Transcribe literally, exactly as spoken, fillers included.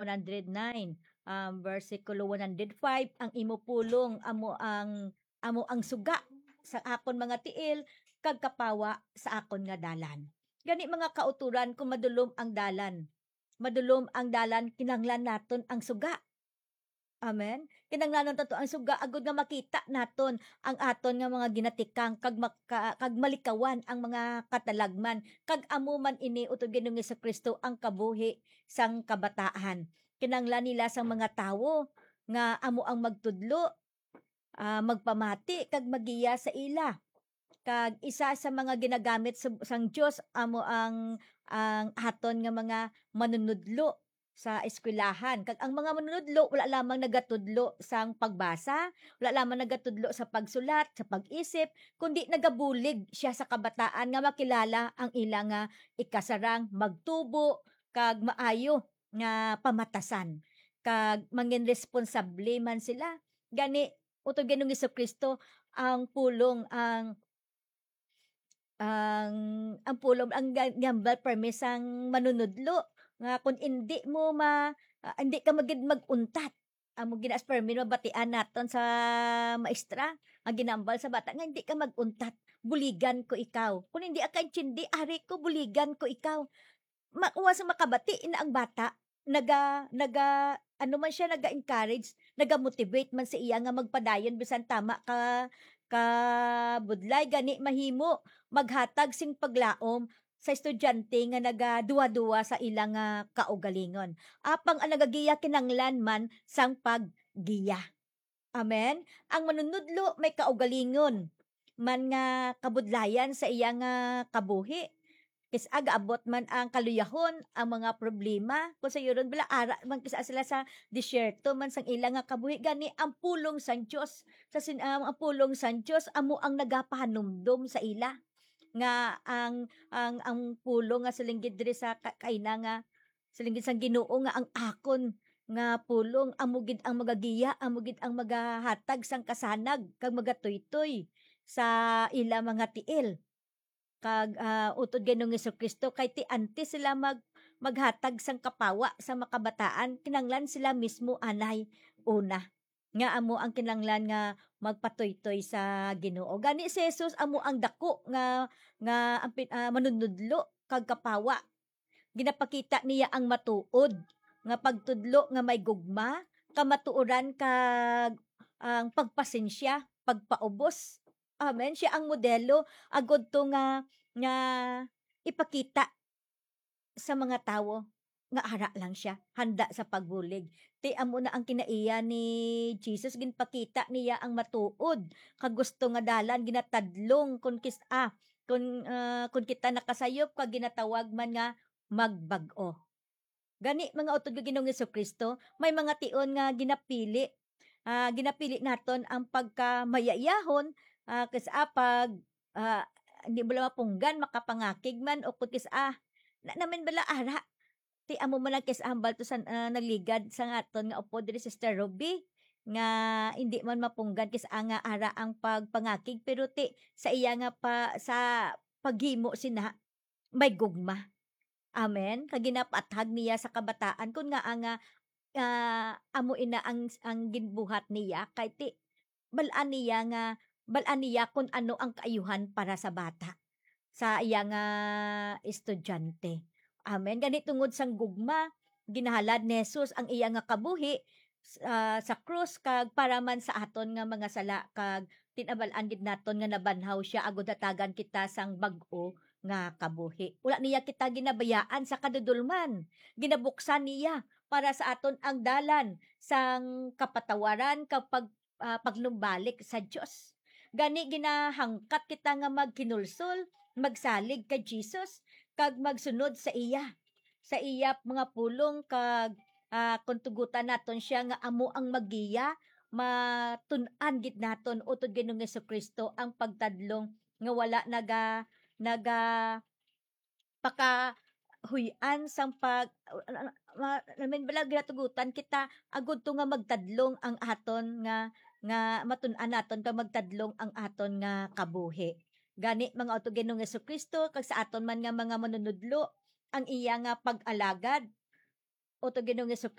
hundred nine, um, versikulo one hundred five, "Ang imo pulong amo ang, amo ang suga sa akon mga tiil, kag kapawa sa akon nga dalan." Gani, mga kautoran, kung madulom ang dalan, madulom ang dalan, kinahanglan naton ang suga. Amen. Kinahanglanon nato ang suga agod nga makita naton ang aton nga mga ginatikang kag maka-, kag malikawan ang mga katalagman. Kag amo man ini, utod Ginoong Jesu-Cristo, ang kabuhi sang kabataan. Kinahanglan nila sang mga tawo nga amo ang magtudlo, ah, magpamati kag maggiya sa ila. Kag isa sa mga ginagamit sa, sang Dios amo ang, ang aton nga mga manunudlo sa eskwelahan. Kag ang mga manunudlo wala lamang nagatudlo sang pagbasa, wala lamang nagatudlo sa pagsulat, sa pag-isip, kundi nagabulig siya sa kabataan nga makilala ang ila nga ikasarang, magtubo, kag maayo nga pamatasan, kag mangin responsable man sila. Gani, utod Ginoong Jesu-Cristo, ang pulong, ang, ang, ang pulong, ang ga-, gambal permi sang manunudlo, nga kung indi mo ma-, ah, indi ka magid mag-untat. Amo gina as permi mabatian naton sa maestra, ang ginambal sa bata nga, "Hindi ka mag-untat, buligan ko ikaw. Kung hindi ka intindi, ari ko, buligan ko ikaw." Ma-, wa sa makabati, ina ang bata, naga-, naga-, ano man siya, naga-encourage, naga-motivate man sa iya nga magpadayon bisan tama ka, ka budlay. Gani, mahimo maghatag sing paglaom sa estudyante nga nagaduwa-duwa sa ila nga kaugalingon. Apang ang nagagiya kinanglan man sang paggiya. Amen? Ang manunudlo may kaugalingon man nga kabudlayan sa iya nga kabuhi. Kis-a gaabot man ang kaluyahon, ang mga problema, kung sayuron bala ara man kis-a sila sa disyerto man sang ila nga kabuhi, gani ang pulong sang Dios, sa sin-, ang, ang pulong sang Dios amo ang nagapahanumdom sa ila nga ang, ang, ang pulong nga siling gid diri sa ka-, kaina nga siling gid sang Ginoo nga ang akon nga pulong amo gid ang magagiya, amo gid ang magahatag sang kasanag kag magatuytoy sa ila mga tiil. Kag, ah, utod Ginoong Jesu-Cristo, kay ti antes sila mag-, maghatag sang kapawa sa makabataan, kinanglan sila mismo anay una, nga amo ang kinanglan nga magpatuytoy sa Ginoo. Gani si Jesus amo ang dako nga, nga ang pin-, ah, manunudlo kag kapawa. Ginapakita niya ang matuod nga pagtudlo nga may gugma, kamatuoran, kag ang pagpasensya, pagpaubos. Amen. Siya ang modelo agud to nga, nga ipakita sa mga tawo nga ara lang siya, handa sa pagbulig. Ti amo na ang kinaiya ni Jesus, ginpakita niya ang matuod kag gusto nga dalan, ginatadlong kon kis-, ah, kon, ah, kon kita nakasayop kag ginatawag man nga magbag-o. Gani, mga utod nga Ginoong Jesu-Cristo, may mga tion nga ginapili. Ah, ginapili naton ang pagkamayayahon, ah, kis-a pag, ah, hindi mo lang mapunggan, makapangakig man, o kung kis-a, na namin bala ara. Ti amo man ang kis-a hambal to sa, ah, nagligad sa aton nga upod diri, Sister Ruby, nga hindi man mapunggan kis-a nga ara ang pagpangakig, pero ti sa iya nga pa, sa paghimo sina, may gugma. Amen. Kag ginapaathag niya sa kabataan kun ngaa nga, ah, amo ina ang, ang ginbuhat niya, kay ti, bal-an niya nga, bal-an niya kun ano ang kaayuhan para sa bata, sa iya nga estudyante. Amen. Gani, tungod sang gugma, ginahalad ni Jesus ang iya nga kabuhi s-, ah, sa krus, kag para man sa aton nga mga sala, kag tinabal-an gid naton nga nabanhaw siya agud hatagan kita sang bag-o nga kabuhi. Wala niya kita ginabayaan sa kadudolman. Ginabuksan niya para sa aton ang dalan sang kapatawaran kag pag-, ah, pagnumbalik sa Dios. Gani, ginahangkat kita nga maghinulsol, magsalig kay Jesus, kag magsunod sa iya, sa iya mga pulong, kag, ah, kung tugutan naton siya nga amo ang maggiya, matun-an gid naton utod Ginoong Jesu-Cristo ang pagtadlong nga wala naga-, naga-, pakahuy-an sang pag-, ma-, ma-, I mean, bala, ginatugutan kita agud to nga magtadlong ang aton nga, nga matun-an naton kag magtadlong ang aton nga kabuhi. Gani, mga utod Ginoong Jesu-Cristo, kag sa aton man nga mga manunudlo, ang iya nga pag-alagad, utod Ginoong Jesu-Cristo,